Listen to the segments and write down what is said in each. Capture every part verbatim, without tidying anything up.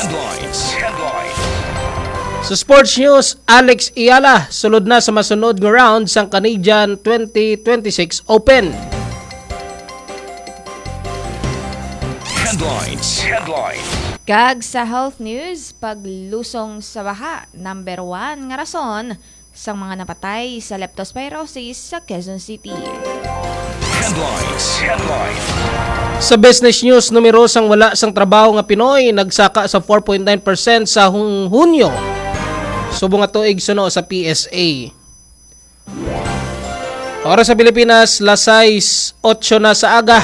Headlines. Headlines. Sa sports news, Alex Eala sulod na sa masunod nga round sang Canadian twenty twenty-six Open. Headlines. Headlines. Kag sa health news, paglusong sa baha, number one nga rason sang mga napatay sa leptospirosis sa Quezon City. Headlines. Headlines. Sa business news, numero sang wala sang trabaho nga Pinoy nagsaka sa four point nine percent sa hung-, Hunyo, subong nga tuig suno sa P S A. Oras sa Pilipinas, las sais otso na sa aga.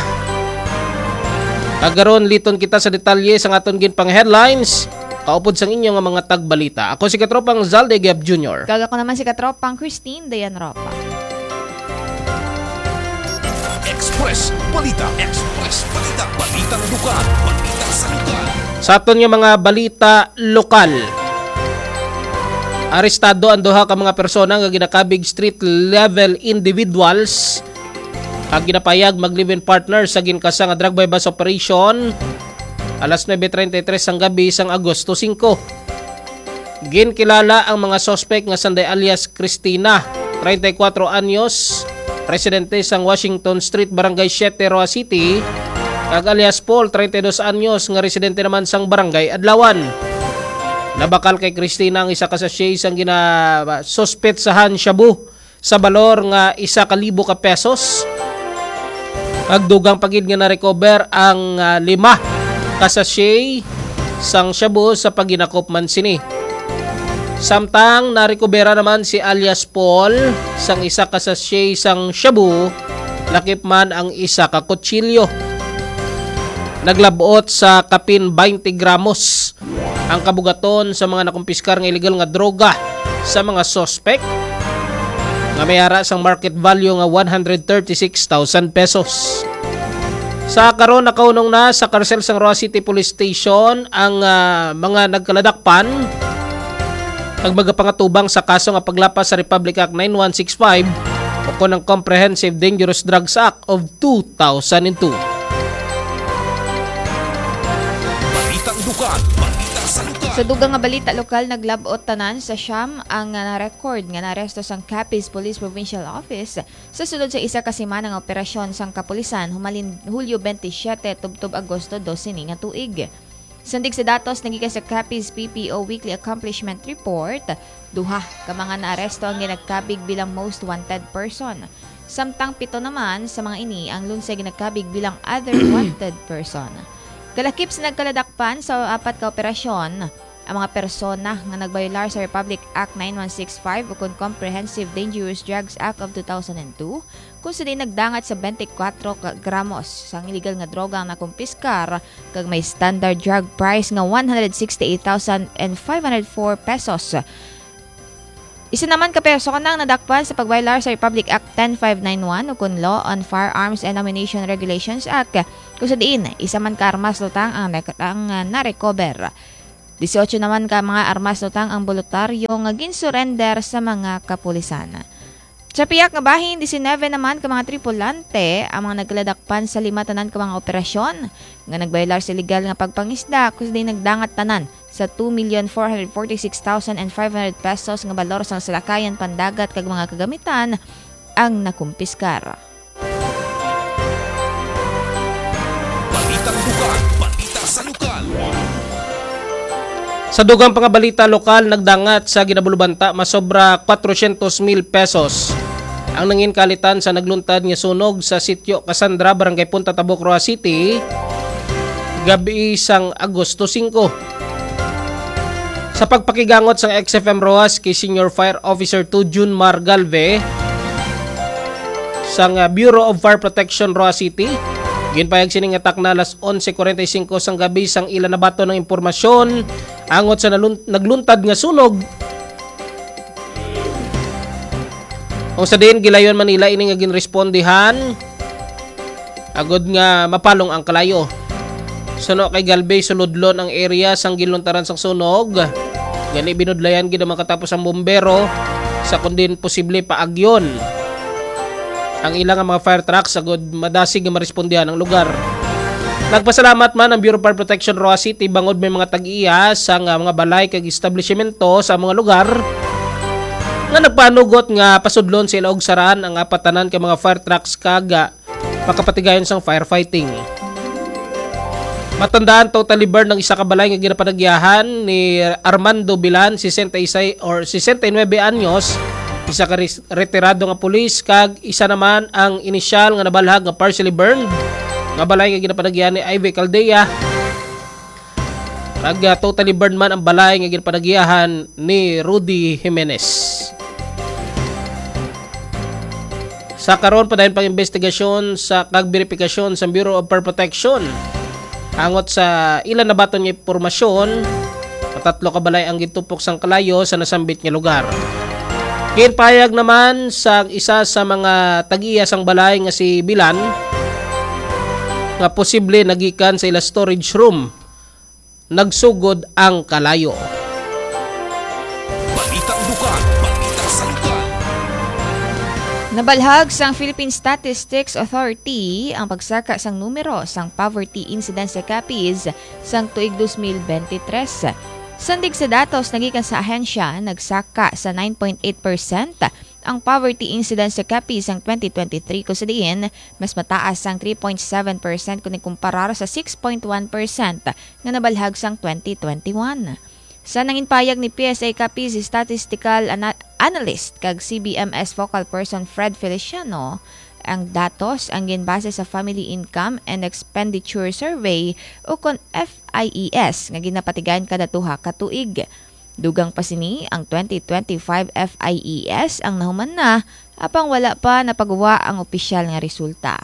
Kag karon, liton kita sa detalye sang aton ginpang-headlines, kaupod sang inyo nga mga tagbalita. Ako si Katropang Zalde Gab Junior. Kag ako naman si Katropang Christine Dayan Ropa. Express Balita. Express Balita. Balitang lugar. Balita sa lugar. Sa aton nga mga balita lokal, arestado ang duha ka mga persona nga ginakabig street level individuals kag ginapayag mag-live-in partner sa ginkasa nga drug buy-bust operation alas nuebe treinta y tres sang gabi sang Agosto singko. Ginkilala ang mga suspek nga sanday alias Cristina, treinta y cuatro anyos, residente sang Washington Street, Barangay siete, Roa City, kag alias Paul, treinta y dos anyos, nga residente naman sang Barangay Adlawan. Nabakal kay Cristina ang isa ka sachet sang ginasuspetsahan shabu sa balor nga isa ka libo ka pesos. Kag dugang pa gid nga na-recover ang, ah, lima ka sachet sang shabu sa paghinakop man sini. Samtang narekobera naman si alias Paul sang isa ka sachet sang shabu, lakip man ang isa ka kutsilyo. Naglabot sa kapin twenty gramos ang kabugaton sa mga nakumpiskar nga iligal nga droga sa mga suspek nga may ara sang market value nga one hundred thirty-six thousand pesos. Sa karon, nakahunong na sa karsel sang Roa City Police Station ang, ah, mga nagkaladakpan kag magapangatubang sa kaso nga paglapas sa Republic Act nine one six five o kon ang Comprehensive Dangerous Drugs Act of two thousand and two. Balitang lugar, balita sa lugar. Sa dugang nga balita lokal, naglabot tanan sa siyam ang, ah, na-record nga naaresto sang Capiz Police Provincial Office sa sulod sa isa ka semana nga operasyon sang kapulisan humalin Hulyo twenty-seven tubtob Agosto dos sini nga tuig. Sandig sa datos nga gikan sa Capiz P P O Weekly Accomplishment Report, duha ka mga naaresto ang ginagkabig bilang most wanted person. Samtang pito naman sa mga ini ang lunsay ginagkabig bilang other wanted person. Kalakip sa nagkaladakpan sa apat ka operasyon, ang mga persona nga nagbayolar sa Republic Act nine one six five ukon Comprehensive Dangerous Drugs Act of two thousand and two, kung sa diin nagdangat sa twenty-four ka gramos sang iligal nga droga ang nakumpiskar, kag may standard drug price nga one hundred sixty-eight thousand and five hundred four pesos. Isa naman ka persona ang nadakpan sa pagbayolar sa Republic Act ten five nine one ukon Law on Firearms and Ammunition Regulations Act, kung sa diin isa man ka armas lutang ang nak-, ang, ah, narecover. Dieciocho naman ka mga armas lutang ang boluntaryo nga ginsurrender sa mga kapulisan. Sa piyak nga bahin, disinebe naman ka mga tripulante ang mga nagkaladakpan sa lima tanan ka mga operasyon nga nagbayolar sa iligal nga pagpangisda, kung sa diin nagdangat tanan sa two million four hundred forty-six thousand and five hundred pesos nga balor sang salakayan pandagat kag mga kagamitan ang nakumpiskar. Balitang lugar, balita sa lokal. Sa dugang pa nga balita lokal, nagdangat sa ginabulubanta masobra kwatrocientos mil pesos ang nangin kalitan sa nagluntad nga sunog sa Sitio Cassandra, Barangay Punta Tabuk, Roa City, gabi sang Agosto singko. Sa pagpakigangot sang X F M Roas kay Senior Fire Officer two June Mar Galve sang, ah, Bureau of Fire Protection, Roa City, ginpayag sini nga takna alas onse cuarenta y cinco sang gabi sang ila nabaton ang impormasyon angot sa nalun-, nagluntad nga sunog. Kung sa diin, gilayon man nila ini nga ginrespondihan agod nga mapalong ang kalayo. Suno kay Galvez, sulodlon ang area sang ginluntaran sang sunog. Gani, binudlayan gid ang makatapos ang bombero sa kundin posible paagyon ang ila nga mga fire trucks agod madasig nga marespondihan ang lugar. Nagpasalamat man ang Bureau of Fire Protection Roxas City bangod may mga tag-iya sa nga mga balay kag establishmento sa mga lugar nga nagpanugot nga pasudlon sa ila og saraan ang apatanan ka mga fire trucks kag, ah, makapatigayon sang firefighting. Matandaan, totally burned ang isa ka balay nga ginapanagyahan ni Armando Bilan, sesenta y seis or sesenta y nuebe anyos, isa ka res-, retirado nga pulis, kag isa naman ang inisyal nga nabalhag nga partially burned nga balay nga ginapanagyahan ni Ivy Caldea. Kag, ah, totally burned man ang balay nga ginapanagyahan ni Rudy Jimenez. Sa karon, padayon pang investigasyon sa kag verifikasyon sa Bureau of Fire Protection. Angot sa ila nabaton nga impormasyon, matatlo ka balay ang gintupok sang kalayo sa nasambit nga lugar. Ginpayag naman sa isa sa mga tag-iya sang balay nga si Bilan nga posible nagikan sa ila storage room nagsugod ang kalayo. Balitang Bukal, Balitang Sangkal. Nabalhag sang Philippine Statistics Authority ang pagsaka sang numero sang poverty incidence sa Capiz sang tuig dos mil bente tres. Sandig sa datos nga gikan sa ahensya, nagsaka sa nine point eight percent ang poverty incidence sa Capiz sang twenty twenty-three, kung sa diin mas mataas sang three point seven percent kon ikumparar sa six point one percent nga nabalhag sang twenty twenty-one. Sa nanginpayag ni P S A Capiz Statistical Ana-, Analyst kag C B M S Focal Person Fred Feliciano, ang datos ang ginbase sa Family Income and Expenditure Survey, o kon F I E S, nga ginapatigayon kada duha ka tuig. Dugang pa sini, ang twenty twenty-five F I E S ang nahuman na, apang wala pa napagwa ang opisyal nga resulta.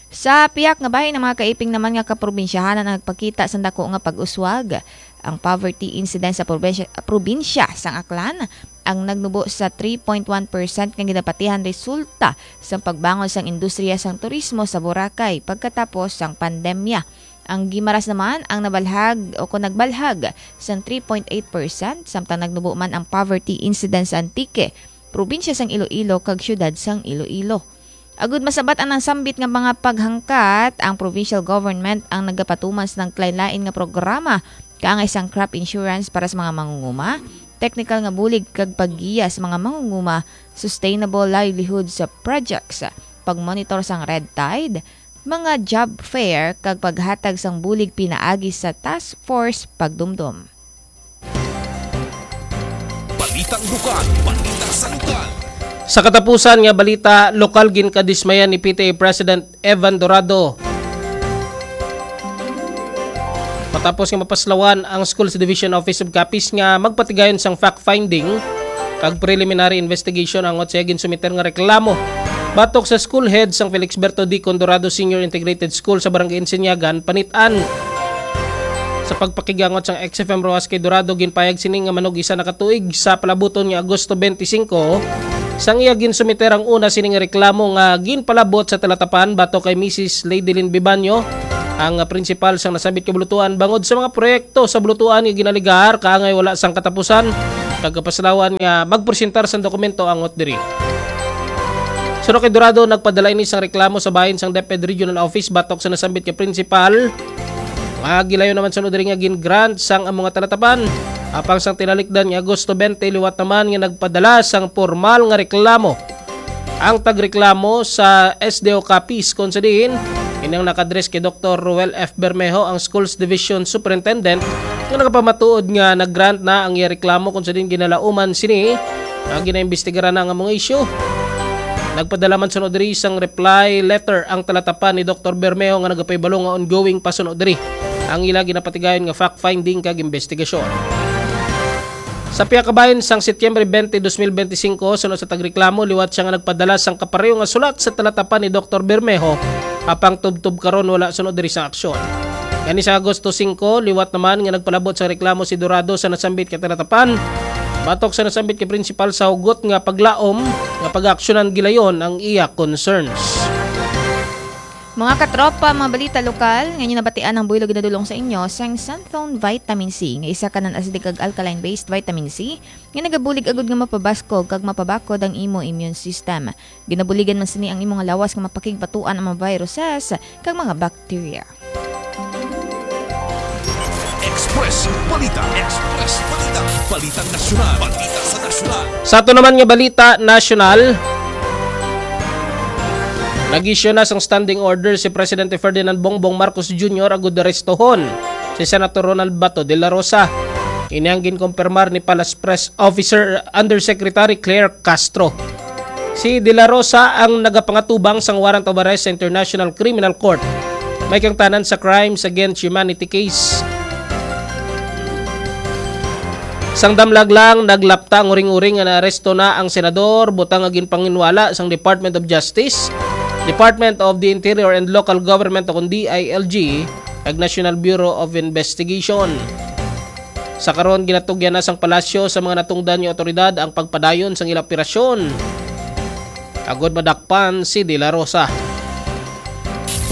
Sa pihak nga bahin, ang mga kaiping naman nga kaprobinsyahanan ang nagpakita sang dako nga pag-uswag. Ang poverty incidence sa probinsya, probinsya sang Aklan ang nagnubo sa three point one percent nga ginapatihan resulta sang pagbangon sang industriya sang turismo sa Boracay pagkatapos sang pandemya. Ang Guimaras naman ang nabalhag o kon nagbalhag sang three point eight percent, samtang nagnubo man ang poverty incidence sa Antique, probinsya sang Iloilo kag siyudad sang Iloilo. Agud masabat ang nasambit nga mga paghangkat, ang provincial government ang nagapatuman sang naglain-lain nga programa, kaangay sang crop insurance para sa mga mangunguma, technical nga bulig kag paggiya sa mga mangunguma, sustainable livelihood sa projects, pagmonitor sang red tide, mga job fair kag paghatag sang bulig pinaagi sa task force pagdumdom. Balitang Bukal, Balitang Sangkal. Sa katapusan nga balita, lokal, ginkadismayan ni P T A President Evan Dorado matapos nga mapaslawan ang Schools Division Office of Capiz nga magpatigayon sang fact-finding kag preliminary investigation angot sa iya ginsumiter nga reklamo batok sa school head sang Felixberto D. Condorado Senior Integrated School sa Barangay Insinyagan, Panit-an. Sa pagpakigangot sang X F M Roxas kay Dorado, ginpayag sini nga manug-isa na ka tuig sa palabuton nga Agosto twenty-five, sang iya ginsumiter ang una sini nga reklamo nga ginpalabot sa talatapan batok kay Missus Lady Lynn Bibanyo, ang prinsipal sang nasambit nga bulutuan, bangod sa mga proyekto sa bulutuan nga ginaligar kaangay wala sang katapusan, kag kapaslawan nga magpresentar sang dokumento angot diri. Suno kay Dorado, nagpadala ini sang reklamo sa bahin sang DepEd Regional Office batok sa nasambit nga prinsipal, nga gilayon naman suno diri nga gin-grant sang ang mga talatapan. Apang sang tinalikdan nga Agosto twenty, liwat naman nga nagpadala sang pormal nga reklamo ang tagreklamo sa S D O Capiz, kon sa diin ini ang nakadres kay Doktor Roel F. Bermejo, ang Schools Division Superintendent, nga nagapamatuod nga nag-grant na ang iya reklamo, kon sa diin ginalauman sini nga ginaimbestigaran na ang among isyu. Nagpadala man suno diri sang reply letter ang talatapan ni Doktor Bermejo nga nagapahibalo nga ongoing pa suno diri ang ila ginapatigayon nga fact-finding kag investigasyon. Sa pihak kabahin, sang Setyembre twenty, dos mil bente singko, suno sa tagreklamo, liwat sia nga nagpadala sang kapareho nga sulat sa talatapan ni Doktor Bermejo, apang tubtob karon wala suno diri sang aksyon. Gani sa Agosto singko, liwat naman nga nagpalabot sa reklamo si Dorado sa nasambit ka talatapan. Batok sa nasambit ka prinsipal, sa hugot nga paglaom nga pag-aaksyonan gilayon ang iya concerns. Mga katropa, mga balita lokal, nga inyo nabatian ang buhilo ginadulong sa inyo sang Santhone Vitamin C, nga isa ka non-acidic kag alkaline-based vitamin C, nga nagabulig agud nga mapabaskog kag mapabakod ang imo immune system. Ginabuligan man sini ang imo nga lawas nga mapakigbatuan ang mga viruses kag mga bacteria. Express Balita. Express Balita. Balitang nasyonal. Balita sa nasyonal. Sa ato naman nga balita nasyonal, nag-issue na sang standing order si Presidente Ferdinand Bongbong Marcos Junior agud arestohon si Senator Ronald Bato de la Rosa. Ini ang ginkumpirmar ni Palace Press Officer Undersecretary Claire Castro. Si De La Rosa ang nagapangatubang sang warrant of arrest sa International Criminal Court, may kaangtanan sa crimes against humanity case. Sang damlag lang, naglapta ang uring-uring nga naaresto na ang senador, butang nga ginpanginwala sang Department of Justice, Department of the Interior and Local Government o kon D I L G, kag National Bureau of Investigation. Sa karon, ginatugyan na sang palasyo sa mga natungdan nga awtoridad ang pagpadayon sang ila operasyon agod madakpan si De La Rosa.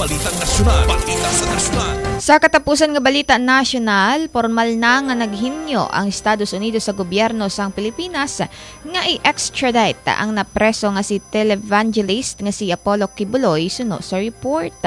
Balitang nasyonal. Balita sa nasyonal. Sa katapusan nga balita nasyonal, pormal na nga naghimyo ang Estados Unidos sa gobyerno sang Pilipinas nga i-extradite ang napreso nga si televangelist nga si Apollo Quiboloy, suno sa report.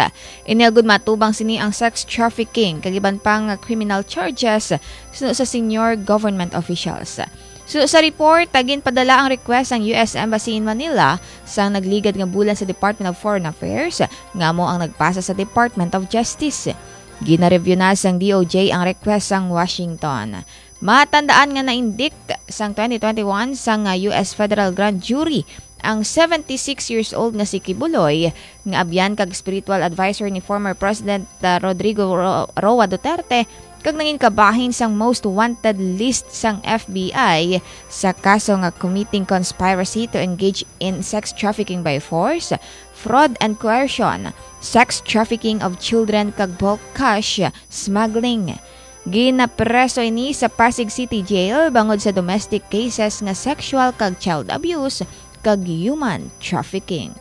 Ini agud matubang sini ang sex trafficking kag iban pa nga criminal charges suno sa senior government officials. Suno sa report, ginpadala ang request sang U S Embassy in Manila sang nagligad nga bulan sa Department of Foreign Affairs, nga amo ang nagpasa sa Department of Justice. Gina-review na sang D O J ang request sang Washington. Matandaan nga na-indict sang twenty twenty-one sang, ah, U S federal grand jury ang seventy-six years old nga si Quiboloy, nga abyan kag spiritual adviser ni former President, ah, Rodrigo Ro-, Roa Duterte, kag nangin kabahin sang most wanted list sang F B I sa kaso nga committing conspiracy to engage in sex trafficking by force, fraud and coercion, sex trafficking of children, kag bulk cash smuggling. Ginapreso ini sa Pasig City Jail bangod sa domestic cases nga sexual kag child abuse kag human trafficking.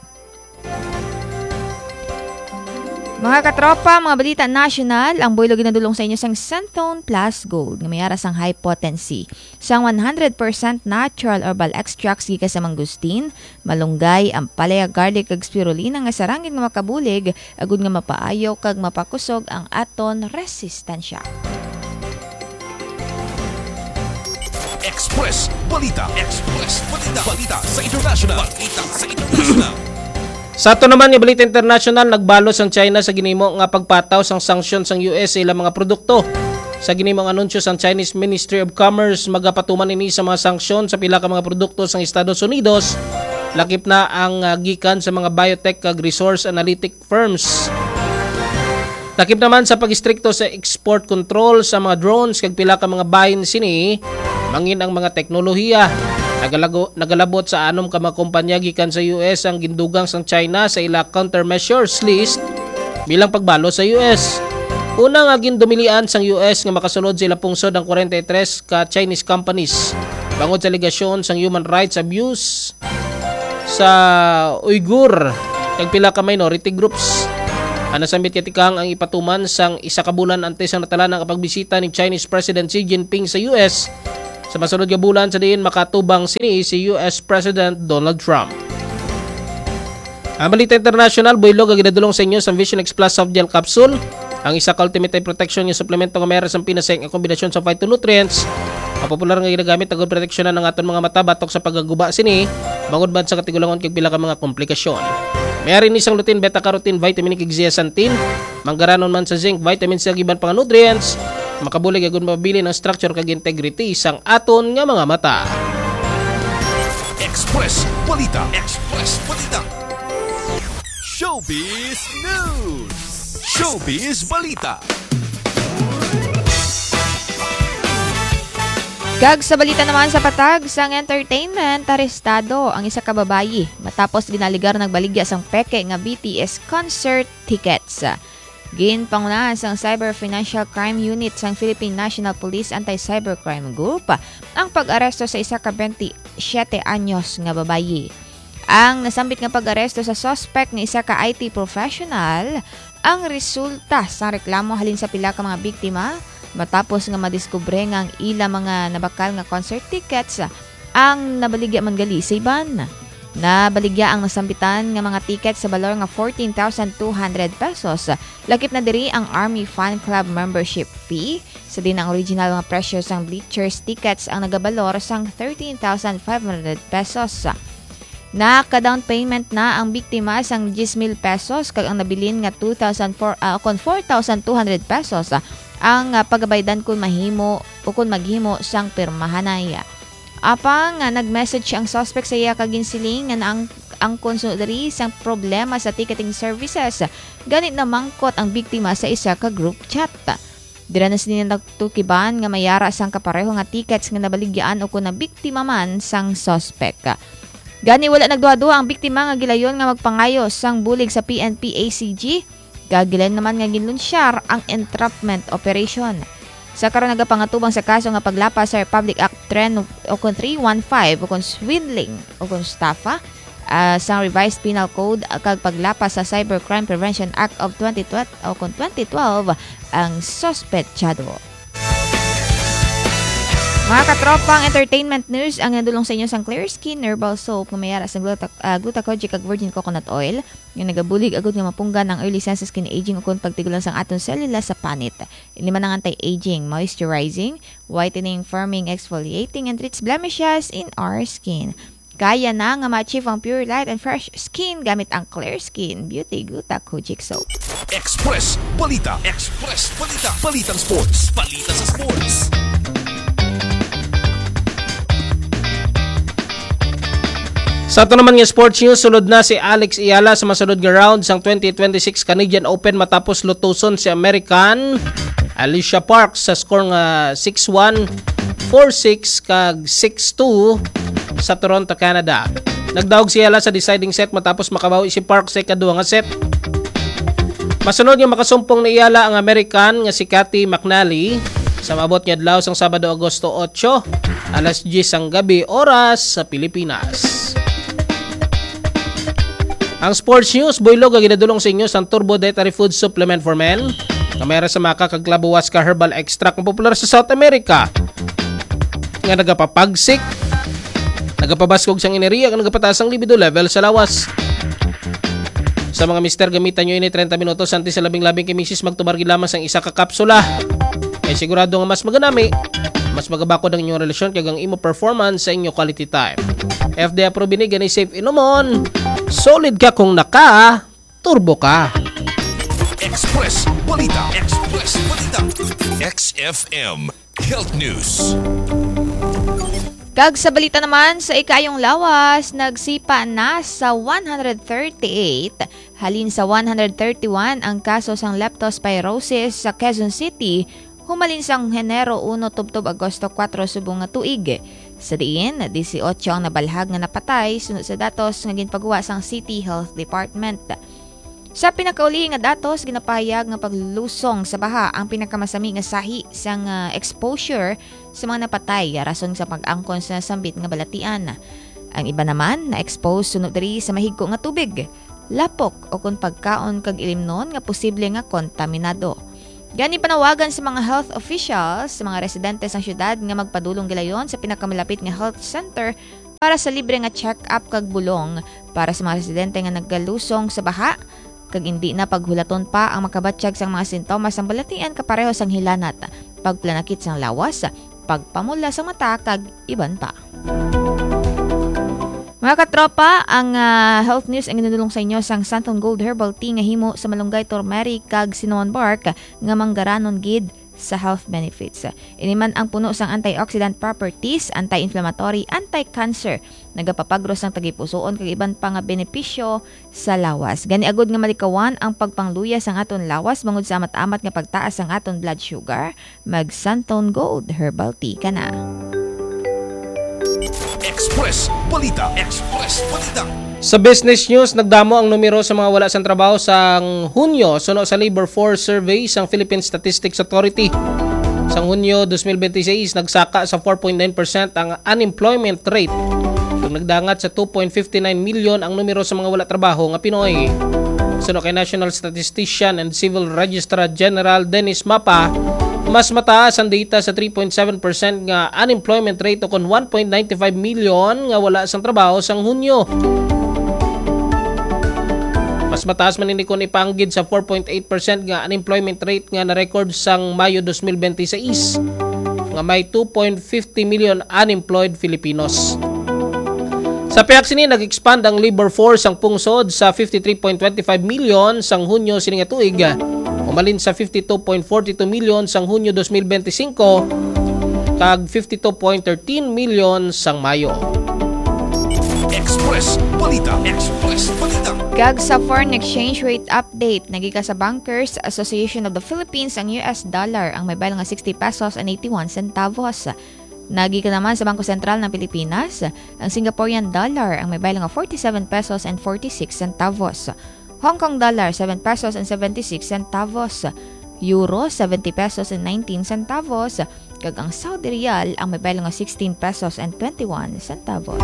Mga katropa, mga balita nasyonal, ang buylog ginadulong sa inyo sang Centone Plus Gold nga may ara sang high potency sang one hundred percent natural herbal extracts gikan sa mangustin, malunggay, ampalaya, garlic, kag spirulina nga sarangin nga makabulig agud nga mapaayo kag mapakusog ang aton resistensya. Express Balita. Express Balita. Balita sa international. Balita sa international. Sa ato naman nga balita international, nagbalos ang China sa ginhimo nga pagpataw sang sanksyon sang U S sa ilang mga produkto. Sa ginhimo nga anunsyo sang Chinese Ministry of Commerce, magapatuman ini sa mga sanksyon sa pila ka mga produkto sang Estados Unidos, lakip na ang, ah, gikan sa mga biotech kag resource analytic firms. Lakip naman sa pag-istrikto sa export control sa mga drones kag pila ka mga bahin sini, mangin ang mga teknolohiya. Nagalago-, nagalabot sa anom ka mga kompanya gikan sa U S ang gindugang sang China sa ila countermeasures list bilang pagbalos sa U S. Una nga gindumilian sang U S nga makasulod sa ila pungsod ang forty-three ka Chinese companies bangod sa alegasyon sang human rights abuse sa Uyghur kag pila ka minority groups. Ang nasambit kay tikang ang ipatuman sang isa ka bulan antes ang natalana nga pagbisita ni Chinese President Xi Jinping sa U S sa masunod nga bulan, sa diin makatubang sini si U S President Donald Trump. Ang balita international, buylog nga ginadulong sa inyo sa Vision X Plus Soft Gel Capsule, ang isa ka ultimate eye protection nga suplemento nga may ara sang pinasay nga kombinasyon sa phytonutrients, ang popular nga ginagamit agud proteksyonan ang aton mga mata batok sa pagkaguba sini, bangod man sa katigulangon kag pila ka mga komplikasyon. May ara ini sang lutein, beta-carotene, vitamin E kag zeaxanthin, manggaranon man sa zinc, vitamin C kag iban pa nga nutrients, makabulig agud mapabilin ang structure kag integrity sang aton nga mga mata. Express Balita. Express Balita. Showbiz News. Showbiz Balita. Kag sa balita naman sa patag sang entertainment, arestado ang isa ka babayi matapos ginaaligar nagbaligya sang peke nga B T S concert tickets. Ginpangunahan sang Cyber Financial Crime Unit sang Philippine National Police Anti-Cybercrime Group ang pag-aresto sa isa ka twenty-seven anyos nga babayi. Ang nasambit nga pag-aresto sa suspect nga isa ka I T professional ang resulta sang reklamo halin sa pila ka mga biktima matapos nga madiskubre nga ang ila mga nabakal nga concert tickets ang nabaligya man gali sa iban. Nabaligya ang nasambitan nga mga ticket sa balor nga fourteen thousand two hundred pesos. Lakip na diri ang Army Fan Club membership fee, sa din ang original nga presyo sang bleachers tickets ang nagabalor sang thirteen thousand five hundred pesos. Naka-down payment na ang biktima sang diyes mil pesos kag ang nabilin nga two thousand four, ah, kon four thousand two hundred pesos, ah, ang, ah, pagabaydan kon mahimo o kon maghimo sang pirmahanay. Apang, ah, nag-message ang suspect sa iya kag ginsiling nga naang-, angkon suno diri sang problema sa ticketing services. Gani namangkot ang biktima sa isa ka group chat. Dira na sini natukiban nga may ara sang kapareho nga tickets nga nabaligyaan o kon nabiktima man sang suspek. Gani, wala nagduha-duha ang biktima nga gilayon nga magpangayo sang bulig sa P N P A C G, kag gilayon naman nga ginlunsyar ang entrapment operation. Sa karon, nagapangatubang sa kaso nga paglapas sa Republic Act three o kon three one five o kon swindling o kon estafa, ah, sang Revised Penal Code kag paglapas sa Cybercrime Prevention Act of twenty twelve o kon twenty twelve ang suspetsado. Mga katropa, ang entertainment news ang nadulong sa inyo sang Clear Skin Herbal Soap nga may ara sang gluta-, ah, gluta-, kojic kag virgin coconut oil nga nagabulig agud nga mapunggan ang early signs sa skin aging ukon pagtigulang sang aton selula sa panit. Ini man ang anti-aging, moisturizing, whitening, firming, exfoliating, and treats blemishes in our skin. Kaya na nga ma-achieve ang pure light and fresh skin gamit ang Clear Skin Beauty Gluta Kojic Soap. Express Balita. Express Balita. Balitang sports. Balita sa sports. Sa ato naman nga sports news, sulod na si Alex Eala sa masunod nga round sang twenty twenty-six Canadian Open matapos lutuson si American Alicia Parks sa score nga six one, four six, kag six two sa Toronto, Canada. Nagdaog si Eala sa deciding set matapos makabawi si Parks sa ikaduha nga set. Masunod nga makasumpong ni Eala ang American nga si Cathy McNally sa maabot nga adlaw sang Sabado, Agosto otso, alas diyes sang gabi, oras sa Pilipinas. Ang sports news, buylog nga ginadulong sa inyo sang Turbo Dietary Food Supplement for Men, nga may ara sa maca kag clavo huasca herbal extract nga popular sa South America, nga nagapapagsik, nagapabaskog sang enerhiya, kag nagapataas ang libido level sa lawas. Sa mga mister, gamitan nyo ini treinta minutos antes sa labing-labing kay misis magtumar gid lamang sang isa ka kapsula. Kay sigurado nga mas maganami, mas magabakod ang inyong relasyon kag ang imo performance sa inyo quality time. F D A approved ini, gani safe inumon. Solid ka kung naka-turbo ka. Express Balita. Express Balita. X F M Health News. Kag sa balita naman, sa ikaayong lawas, nagsipa na sa one hundred thirty-eight halin sa one hundred thirty-one ang kaso sang leptospirosis sa Quezon City, humalin sang Henero uno tubtob Agosto kuwatro subong nga tuig. Sa diin, disiotso ang nabalhag nga napatay, sunod sa datos nga ginpaguwa sang City Health Department. Sa pinakaulihi nga datos, ginapahayag nga paglusong sa baha ang pinakamasami nga sahi sang, ah, exposure sa mga napatay, rason sa pag-angkon sa sambit nga balatian. Ang iba naman na-expose suno diri sa mahigko nga tubig, lapok, o kon pagkaon kag ilimnon nga posible nga kontaminado. Gani, panawagan sa mga health officials sa mga residente sang syudad nga magpadulong gilayon sa pinakamalapit nga health center para sa libre nga check-up kag bulong para sa mga residente nga nagalusong sa baha, kag indi na paghulaton pa ang makabatyag sang mga sintomas sang balatian kapareho sang hilanat, pagplanakit sang lawas, pagpamula sang mata, kag iban pa. Mga katropa, ang, ah, health news ang ginadulong sa inyo sang Santon Gold Herbal Tea nga himo sa malunggay, turmeric, kag cinnamon bark nga manggaranon gid sa health benefits. Ini man ang puno sang antioxidant properties, anti-inflammatory, anti-cancer, nagapapagros sang tagipusoon kag iban pa nga benepisyo sa lawas. Gani, agud nga malikawan ang pagpangluya sang aton lawas bangod sa amat-amat nga pagtaas sang aton blood sugar, mag Santon Gold Herbal Tea ka na. Express Balita. Express Balita. Sa business news, nagdamo ang numero sa mga wala sang trabaho sang Hunyo suno sa Labor Force Survey sang Philippine Statistics Authority. Sang Hunyo twenty twenty-six, nagsaka sa four point nine percent ang unemployment rate, kag nagdangat sa two point fifty nine million ang numero sa mga wala trabaho nga Pinoy. Suno kay National Statistician and Civil Registrar General Dennis Mapa, Mas mataas ang data sa three point seven percent nga unemployment rate, o kon one point nine five million nga wala sang trabaho sang Hunyo. Mas mataas man ini kon ipanggid sa four point eight percent nga unemployment rate nga na-record sang Mayo twenty twenty-six, nga may two point fifty million unemployed Filipinos. Sa pihak sini, nag-expand ang labor force sang pungsod sa fifty-three point twenty-five million sang Hunyo sini nga tuig, umalin sa fifty-two point forty-two million sang Hunyo twenty twenty-five kag fifty-two point thirteen million sang Mayo. Express Balita. Express Balita. Kag sa foreign exchange rate update, nagika sa Bankers Association of the Philippines ang U S dollar ang may baylo nga sixty pesos and eighty-one centavos. Nagika naman sa Bangko Sentral ng Pilipinas ang Singaporean dollar ang may baylo nga forty-seven pesos and forty-six centavos. Hong Kong dollar, seven pesos and seventy-six centavos. Euro, seventy pesos and nineteen centavos. Kag ang Saudi riyal ang may baylo nga sixteen pesos and twenty-one centavos.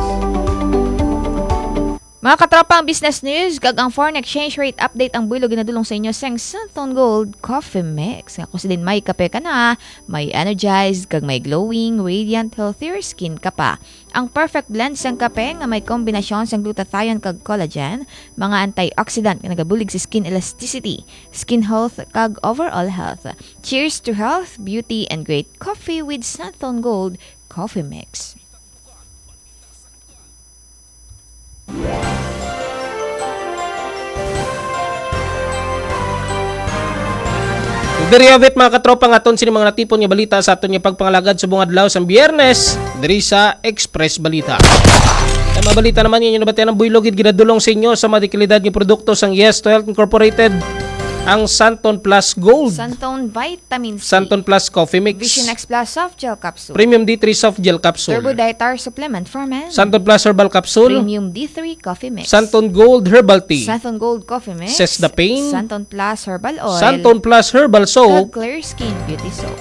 Mga katropa, ang business news kag ang foreign exchange rate update ang buhilo ginadulong sa inyo sang Santon Gold Coffee Mix. Nga kung sa din may kape ka na, may energized, kag may glowing, radiant, healthier skin ka pa. Ang perfect blend sang kape nga may kombinasyon sang glutathione kag collagen, mga antioxidant nga nagabulig sa skin elasticity, skin health, kag overall health. Cheers to health, beauty, and great coffee with Santon Gold Coffee Mix. Diri, Avit, mga katropa, nga aton sini mga natipon nga balita sa aton nga pagpangalagad sa buong adlaw sang Biyernes diri sa Express Balita. Sa mga balita naman ninyo nabatian ang buhilo gid ginadulong sa inyo sa mga dekalidad nga produkto sang Yes to Health Incorporated, ang Santon Plus Gold, Santon Vitamin C, Santon Plus Coffee Mix, Vision X Plus Soft Gel Capsule, Premium D three Soft Gel Capsule, Turbo Diet Supplement for Men, Santon Plus Herbal Capsule, Premium D three Coffee Mix, Santon Gold Herbal Tea, Santon Gold Coffee Mix, Sesda Pain, Santon Plus Herbal Oil, Santon Plus Herbal Soap, kag Clear Skin Beauty Soap.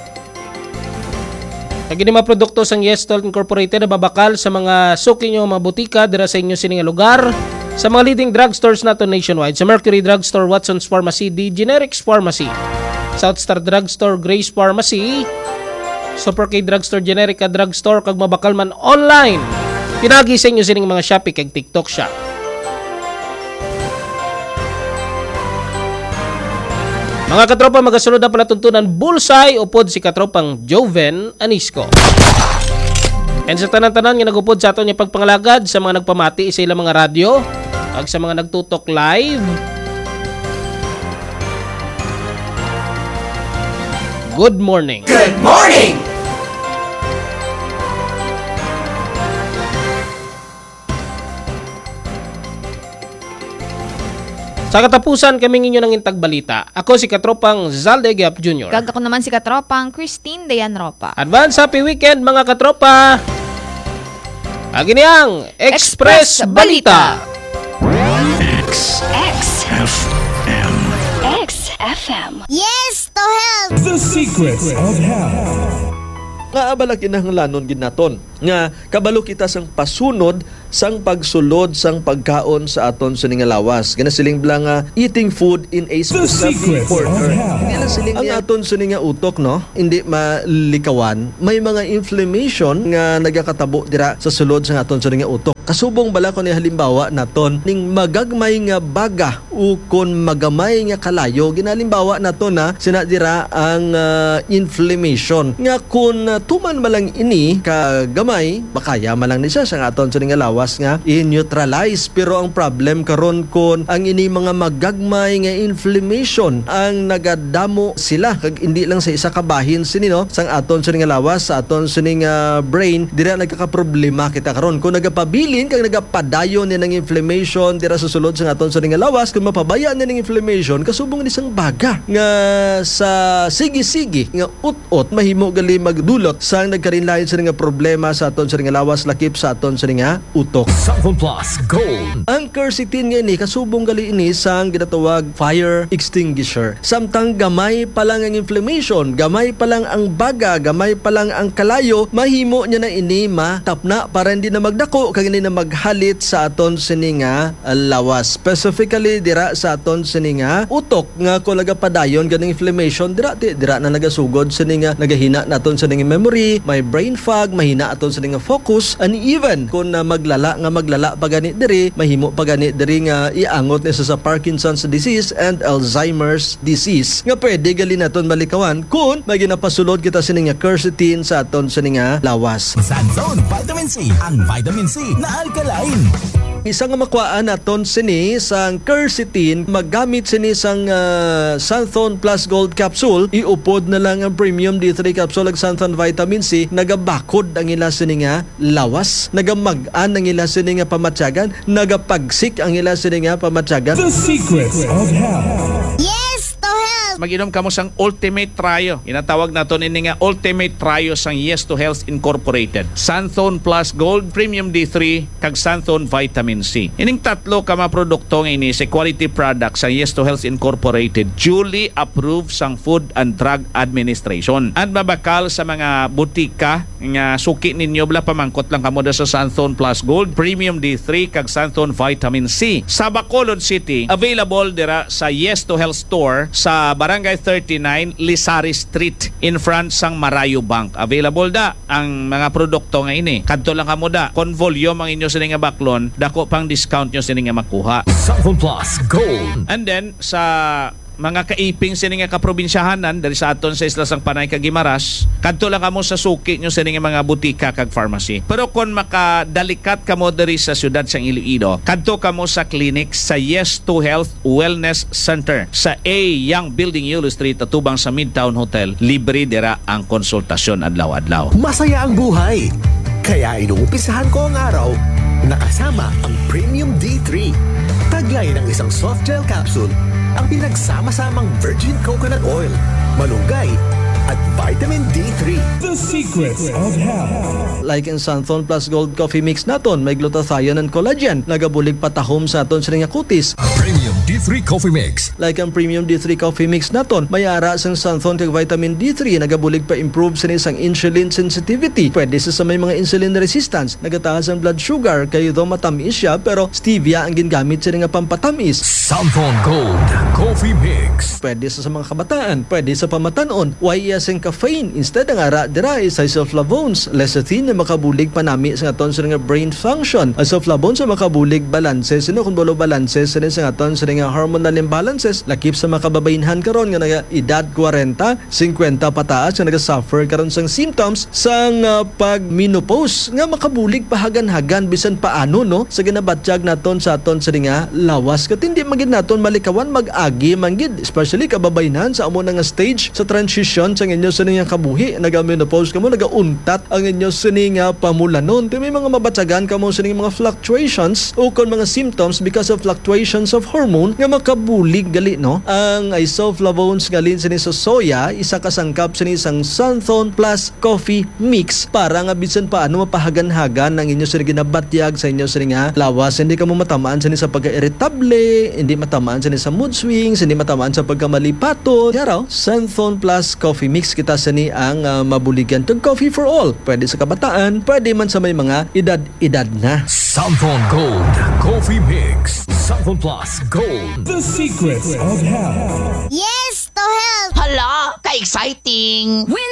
Kag ini mga produkto sang Yes to Health Incorporated mabakal sa mga suki nyo, mga butika dira sa inyo sini nga lugar, sa mga leading drugstores nato nationwide, sa Mercury Drugstore, Watson's Pharmacy, D Generics Pharmacy, South Star Drugstore, Grace Pharmacy, Super K Drugstore, Generica Drugstore, kag mabakal man online. Pinagi sa inyo sining mga Shopee kag TikTok Shop. Mga katropa, magasunod ang palatuntunan Bullseye upod si katropang Joven Anisco. And sa tanan-tanan nga nagupod sa aton nga pagpangalagad, sa mga nagpamati sa ilang mga radyo, kag sa mga nagtutok live, good morning. Good morning! Sa katapusan, kami ninyo nang intag balita. Ako si Katropang Zalde Gap Junior. Kag ako naman si Katropang Christine Dayan Ropa. Advance happy weekend, mga katropa! Agi ni ang Express Express Balita. Balita. X. X F M. X F M. Yes to health! The Secrets of Health. Nga abala kinahanglanon gid naton nga kabalo kita sang pasunod sang pagsulod sang pagkaon sa aton sini nga lawas. Ginasiling bala nga eating food in a The specific Secrets of order. Health. Hindi lang siling ang aton sini nga utok, no? Hindi malikawan. May mga inflammation nga nagakatabo dira sa sulod sang aton sini nga utok. Kasubong bala ko ni halimbawa naton ning magagmay nga baga ukon magamay nga kalayo. Ginalimbawa nato na sina dira ang, ah, inflammation, nga kun, ah, tuman man lang ini ka gamay, makaya man lang ni siya sa aton sini nga lawas nga i-neutralize. Pero ang problem karon kun ang ini mga magagmay nga inflammation ang nagadamo sila, kag hindi lang sa isa ka bahin sini, no, sang aton sini nga lawas, sa aton sini nga brain, dira nagkakaproblema kita karon. Kung nagapabilin kag nagapadayon ni nang inflammation dira sa sulod sang aton sini nga lawas, kung mapabaya ni nang inflammation, kasubong ni sang baga nga sa sige-sige nga ut-ot, mahimo gali magdulot sang nagkarinlain sini nga problema sa aton sini nga lawas, lakip sa aton sini nga utok. Santon Plus Gold. Ang quercetin nga ini, kasubong gali ini sang ginatawag fire extinguisher. Samtang gamay pa lang ang inflammation, gamay pa lang ang baga, gamay pa lang ang kalayo, mahimo niya na ini matapna para hindi na magdako kag hindi na maghalit sa aton sini nga lawas. Specifically dira sa aton sini nga utok, nga kung nagapadayon ganing inflammation, dira ti, dira na nagasugod sini nga nagahina naton sini nga memory, may brain fog, mahina aton sini nga focus, and even kung na maglala nga maglala pa gani diri, mahimo pa gani diri nga iangot ni sa, sa Parkinson's disease and Alzheimer's disease, nga pwede gali naton malikawan kung may ginapasulod kita sini nga quercetin sa aton sini nga lawas. Santon Vitamin C, ang vitamin C na alkaline. Isa nga makuhaan naton sini sang quercetin, maggamit sini sang, ah, Santhon Plus Gold Capsule, iupod na lang ang Premium D three Capsule ag Santhon Vitamin C, nagabakod ang ila sini nga lawas, nagamag-an ang ila sini nga pamatyagan, nagapagsik ang ila sini nga pamatyagan. The Secrets of Health. Yes to health! Mag-inom kamo sang Ultimate Trio. Ginatawag naton ini nga Ultimate Trio sang Yes to Health Incorporated. Santhon Plus Gold, Premium D three, kag Santhon Vitamin C. Ining tatlo ka mga produkto nga ini sa quality product sa Yes to Health Incorporated, duly approved sang Food and Drug Administration. And mabakal sa mga butika nga suki ninyo, bala, pamangkot lang kamo da sa Santhon Plus Gold, Premium D three, kag Santhon Vitamin C. Sa Bacolod City, available dira sa Yes to Health Store sa Barangay thirty-nine Lisari Street, in front sang Marayo Bank. Available da ang mga produkto nga ini. Kadto lang kamo da. Kon volume ang inyo sini nga baklon, dako pang discount nyo sini nga makuha. Santhon Plus Gold. And then, sa mga kaiping sini nga kaprobinsyahanan diri sa aton sa Isla sang Panay kag Guimaras, kadto lang kamo sa suki nyo sini nga mga butika kag pharmacy. Pero kon makadalikat kamo diri sa siyudad sang Iloilo, kadto kamo sa clinic sa Yes to Health Wellness Center sa A Young Building, Yulo Street, atubang sa Midtown Hotel. Libre dira ang konsultasyon adlaw-adlaw. Masaya ang buhay. Kaya inumpisahan ko ang araw nakasama ang Premium D three. Taglay ng isang soft gel capsule ang pinagsama-samang virgin coconut oil, malunggay, at vitamin D three. The Secrets of Health. Like in Santhon Plus Gold Coffee Mix naton, may glutathione and collagen, nagabulig patahom sa aton sini nga kutis. Premium D three Coffee Mix. Like ang Premium D three Coffee Mix naton, may ara sang xanthone kag vitamin D three, nagabulig pa-improve sini sang insulin sensitivity. Pwede sa, sa may mga insulin resistance, nagataas ang blood sugar, kay daw matamis siya, pero stevia ang gingamit sini nga pampatamis. Santhon Gold Coffee Mix. Pwede sa, sa mga kabataan, pwede sa pamatan-on. Why iya sing caffeine? Instead, ang ara dira is isoflavones, lecithin, nga makabulig panami sa aton sini nga brain function. Isoflavones nga makabulig balanse sini, kung balo balanse sini sa aton sini nga hormonal imbalances, lakip sa mga kababaynhan karon nga naga-edad kwarenta, singkwenta pataas nga naga-suffer karon sang symptoms sang, ah, pag-menopause nga makabulig pahagan-hagan bisan paano, no, sa ginabatyag naton sa aton sini nga lawas. Kat hindi man gid naton malikawan, mag-agi man gid, especially kababaynhan sa amo na nga stage sa transition sa inyo sini nga kabuhi. Naga-menopause kamo, nagauntat ang inyo sini nga pamulanon. Ti may mga mabatyagan kamo sini mga fluctuations o kon mga symptoms because of fluctuations of hormone nga makabulig gali, no? Ang isoflavones nga halin sini sa soya, isa ka sangkap sini sang Santhon Plus Coffee Mix para nga bisan paano mapahagan-hagan ang inyo sini ginabatyag sa inyo sini nga lawas. Hindi kamo matamaan sini sa pagka-irritable, hindi matamaan sini sa mood swings, hindi matamaan sa pagkamalipaton. Yaraw, Santhon Plus Coffee Mix kita sini ang, ah, mabuligan. Kag coffee for all. Pwede sa kabataan, pwede man sa may mga edad-edad na. Santhon Gold Coffee Mix. Santhon Plus Gold. The Secrets of Health. Yes to health! Hala, ka-exciting! Win